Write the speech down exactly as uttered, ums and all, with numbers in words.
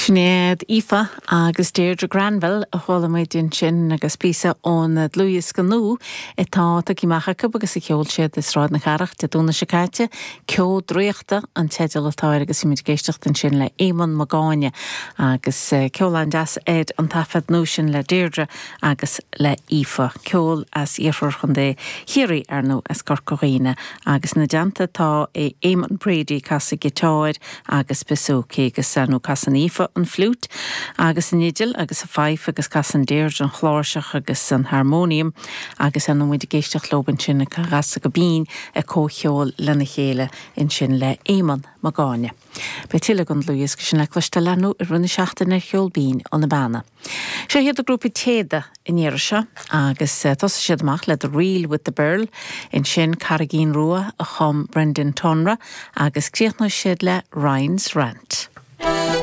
Sinéad Aoife agus Deirdre Granville a chuala muid ansin agus píosa ón dlúthdhiosca nua atá tagtha amach acu agus a sheol siad i Sráid na Cathrach Dé Domhnaigh seo caite, Ceo Draíochta an teideal atá air agus muid ag éisteacht ansin le Éamonn Mac Gáinne agus ceol an-deas ar an taifead nua sin le Deirdre agus le Aoife. Ceol as iarthar Chontae Chiarraí ar ndóigh as Corca Dhuibhne agus ina dteannta tá é Éamonn Brady ag casadh giotáir agus bouzouki agus nó casann Aoife an fliúit agus an fhidil agus a fife agus casann Deirdre an chláirseach agus an harmonium agus an muid ag éisteacht leo ansin ag casadh go binn ag comhcheol lena chéile ansin le Éamonn Mac Gáinne. Beidh tuilleadh den dlúthdhiosca sin le cloisteáil ar ndóigh i rith na seachtaine ar Cheol Binn ó na Beanna. Seo iad an grúpa Téada an iarraidh seo agus thosaigh siad amach le The Reel with the Birl, ansin Carraigín Rua a chum Brendan Tonra agus críochnaigh siad le Ryan's Rant.